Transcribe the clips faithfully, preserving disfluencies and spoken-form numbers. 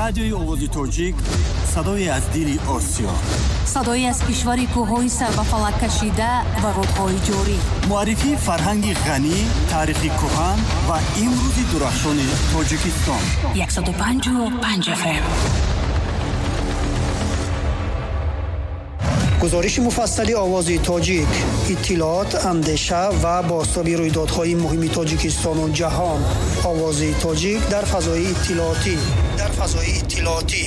Радиои Овози Тоҷик, садое аз дили Осиё. Садое аз кишвари кӯҳҳои сар ба фалак кашида ва рудҳои ҷорӣ. Муаррифии фарҳанги ғанӣ, таърихи кӯҳан ва имрӯзи дурахшони Тоҷикистон. яксаду панҷоҳу панҷ эф эм. Гузориши муфассали Овози Тоҷик, иттилоот, андеша ва бозтоби рӯйдодҳои муҳими Тоҷикистону ҷаҳон. Овози Тоҷик дар фазои иттилоотӣ. Дар фазои иттилоотӣ.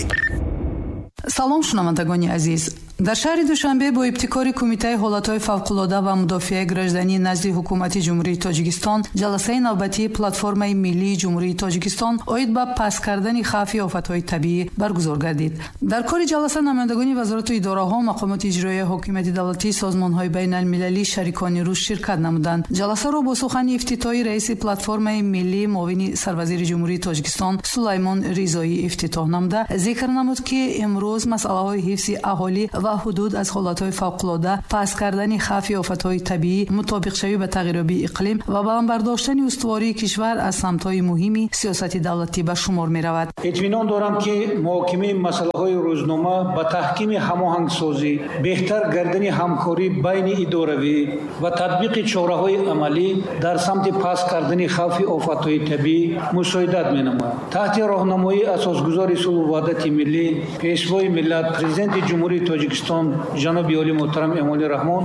Салом, шунавандагони азиз. Дар шаҳри Душанбе бо ибтикори Кумитаи ҳолатҳои фавқулода ва мудофиаи гражданӣ назди Ҳукумати Ҷумҳурии Тоҷикистон ҷаласаи навбатии Платформаи миллии Ҷумҳурии Тоҷикистон оид ба паст кардани хавфи офатҳои табиӣ баргузор гардид. Дар кори ҷаласа намояндагони вазорату идораҳо, мақомоти иҷроияи ҳокимияти давлатӣ, созмонҳои байналмилалӣ, шарикони рушд ширкат намуданд. Ҷаласаро бо сухани ифтитоҳӣ раиси Платформаи миллӣ, муовини сарвазири Ҷумҳурии Тоҷикистон Сулаймон Ризоӣ ифтитоҳ намуда, зикр намуд, ки имрӯз масъалаҳои ҳифзи аҳолӣ ва ҳудуд аз ҳолатҳои фавқулода, паст кардани хавфи офатҳои табиӣ, мутобиқшавӣ ба тағйирёбии иқлим ва баланд бардоштани устувории кишвар аз самтҳои муҳими сиёсати давлатӣ ба шумор меравад. Итминон дорам, ки муҳокимаи масъалаҳои рӯзнома ба таҳкими ҳамоҳангсозӣ, беҳтар гардани ҳамкорӣ байни идоравӣ ва татбиқи чораҳои амалӣ дар самти паст кардани хавфи офатҳои табиӣ мусоидат менамояд. Таҳти роҳнамоии асосгузори сулҳу ваҳдати миллӣ, пешвои миллат, президенти Ҷумҳурии Тоҷикистон ҷаноби олӣ муҳтарам Эмомалӣ Раҳмон,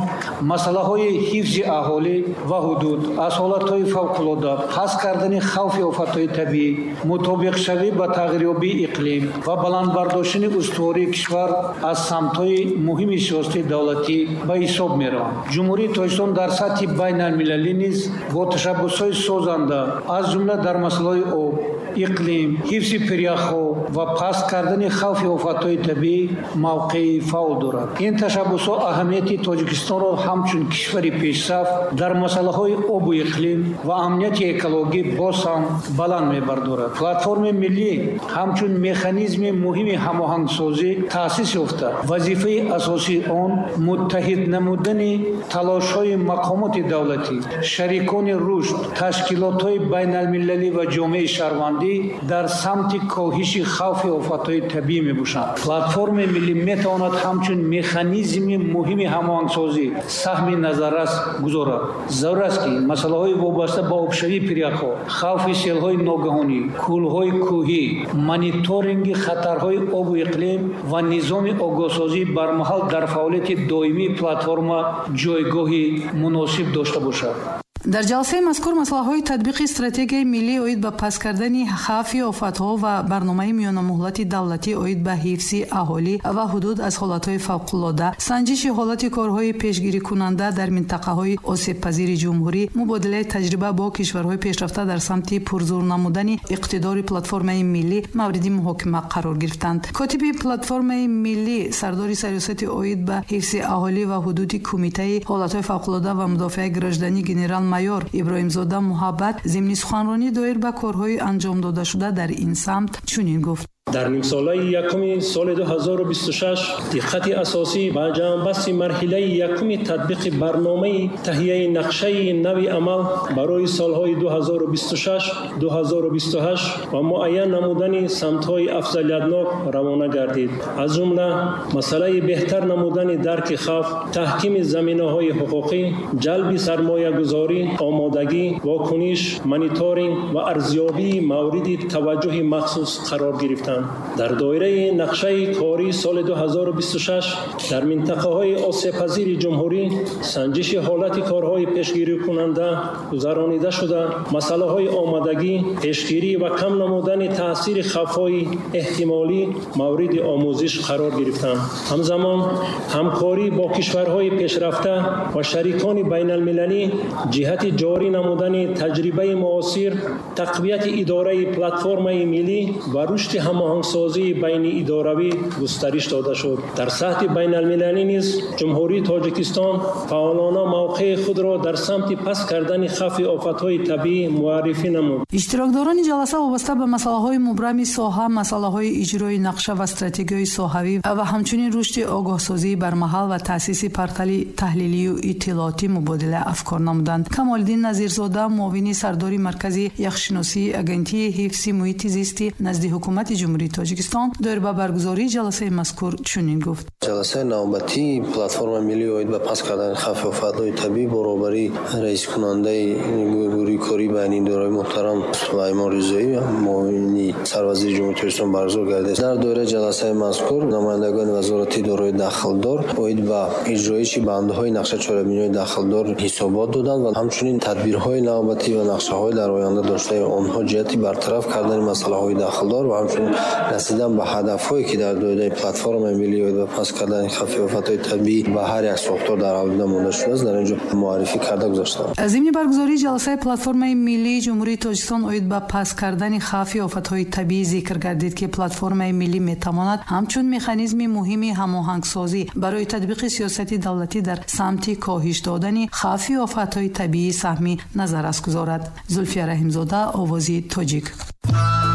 масъалаҳои ҳифзи аҳолӣ ва ҳудуд аз ҳолатҳои фавқулода, паст кардани хавфи офатҳои табиӣ, мутобиқшавӣ ба тағйирёбии иқлим ва баланд бардоштани устувории кишвар аз самтҳои муҳими сиёсати давлатӣ ба ҳисоб мераванд. Ҷумҳурии Тоҷикистон дар сатҳи байналмилалӣ низ бо ташаббусҳои созанда, аз ҷумла дар масъалаҳои об, иқлим, ҳифзи пиряхҳо ва паст кардани хавфи офатҳои табиӣ мавқеи фаъол дорад. Ин ташаббусҳо аҳамияти Тоҷикистонро ҳамчун кишвари пешсаф дар масъалаҳои обу иқлим ва амнияти экологӣ боз ҳам баланд мебардорад. Платформаи миллӣ ҳамчун механизми муҳими ҳамоҳангсозӣ таъсис ёфта, вазифаи асосии он муттаҳид намудани талошҳои мақомоти давлатӣ, шарикони рушд, ташкилотҳои байналмилалӣ ва ҷомеаи шаҳрвандӣ дар самти коҳиши хавфи офатҳои табиӣ мебошанд. Платформаи миллӣ метавонад ҳамчун механизми муҳими ҳамоҳангсозӣ саҳми назаррас гузорад. Зарур аст, ки масъалаҳои вобаста ба обшавии пиряхҳо, хавфи селҳои ногаҳонӣ, кӯлҳои кӯҳӣ, мониторинги хатарҳои обу иқлим ва низоми огоҳсозии бармаҳал дар фаъолияти доимии платформа ҷойгоҳи муносиб дошта бошад. Дар ҷаласаи мазкур масъалаҳои татбиқи стратегияи миллӣ оид ба паст кардани хавфи офатҳо ва барномаи миёнамуҳлати давлатӣ оид ба ҳифзи аҳолӣ ва ҳудуд аз ҳолатҳои фавқулода, санҷиши ҳолати корҳои пешгирикунанда дар минтақаҳои осебпазири ҷумҳурӣ, мубодилаи таҷриба бо кишварҳои пешрафта дар самти пурзур намудани иқтидори платформаи миллӣ мавриди муҳокима қарор гирифтанд. Котиби платформаи миллӣ, сардори сариёсати оид ба ҳифзи аҳолӣ ва ҳудуди Кумитаи ҳолатҳои фавқулода ва мудофиаи гражданӣ генерал майор Иброҳимзода Муҳаббат зимни суханронӣ доир ба корҳои анҷом додашуда дар ин самт чунин гуфт. Дар нимсолаи якуми соли ду ҳазору бисту шаш диққати асосӣ ба ҷамъбасти марҳилаи якуми татбиқи барномаи таҳияи нақшаи нави амал барои солҳои ду ҳазору бисту шаш ду ҳазору бисту ҳашт ва муайян намудани самтҳои афзалиятнок равона гардид. Аз ҷумла масъалаи беҳтар намудани дарки хавф, таҳкими заминаҳои ҳуқуқӣ, ҷалби сармоягузорӣ, омодагӣ, вокуниш, мониторинг ва арзёбии мавриди таваҷҷӯҳи махсус қарор гирифтанд. Дар доираи нақшаи кории соли ду ҳазору бисту шаш дар минтақаҳои осебпазири ҷумҳурӣ санҷиши ҳолати корҳои пешгирикунанда гузаронида шуда, масъалаҳои омодагӣ, пешгирӣ ва кам намудани таъсири хавфҳои эҳтимолӣ мавриди омӯзиш қарор гирифтанд. Ҳамзамон ҳамкорӣ бо кишварҳои пешрафта ва шарикони байналмилалӣ ҷиҳати ҷорӣ намудани таҷрибаи муосир, тақвияти идораи платформаи миллӣ ва рушди ҳамоҳангсозии байниидоравӣ густариш дода шуд. Дар сатҳи байналмилалӣ низ Ҷумҳурии Тоҷикистон фаъолона мавқеи худро дар самти паст кардани хавфи офатҳои табиӣ муаррифӣ намуд. Иштирокдорони ҷаласа вобаста ба масъалаҳои мубрами соҳа, масъалаҳои иҷрои нақша ва стратегияи соҳавӣ ва ҳамчунин рушди огоҳсозии бармаҳал ва таъсиси портали таҳлилию иттилоотӣ мубодила афкор намуданд. Камолиддин Назирзода, муовини сардори Маркази яхшиносии Агентии ҳифзи муҳити зисти назди Ҳукумати Ҷумҳурии Ҷумҳурии Тоҷикистон доир ба баргузории ҷаласаи мазкур чунин гуфт. Ҷаласаи навбатии платформаи миллӣ оид ба паст кардани хавфи офатҳои табиӣ бо роҳбарии раискунандаи гурӯҳи кории байниидораи муҳтарам Сулаймон Ризоӣ, муовини сарвазири Ҷумҳурии Тоҷикистон баргузор гардид. Дар доираи ҷаласаи мазкур намояндагони вазорати идораҳои дахлдор оид ба иҷроиши бандҳои нақша чорабиниҳои дахлдор ҳисобот доданд ва ҳамчунин тадбирҳои навбатӣ ва нақшаҳои дар оянда доштаи онҳо ҷиҳати бартараф кардани масъалаҳои дахлдор ва ҳамчунин расидан ба ҳадафҳое ки дар доираи платформаи миллӣ оид ба паст кардани хавфи офатҳои табиӣ ба ҳар як сохтор дар авлида монда шудааст, дар ин ҷо муаррифӣ карда гузаштанд. Зимни баргузории ҷаласаи платформаи миллии Ҷумҳурии Тоҷикистон оид ба паст кардани хавфи офатҳои табиӣ зикр гардид, ки платформаи миллӣ метавонад ҳамчун механизми муҳими ҳамоҳангсозӣ барои татбиқи сиёсати давлатӣ дар самти коҳиш додани хавфи офатҳои табиӣ саҳми назаррас гузорад. Зулфия Раҳимзода, Овози Тоҷик.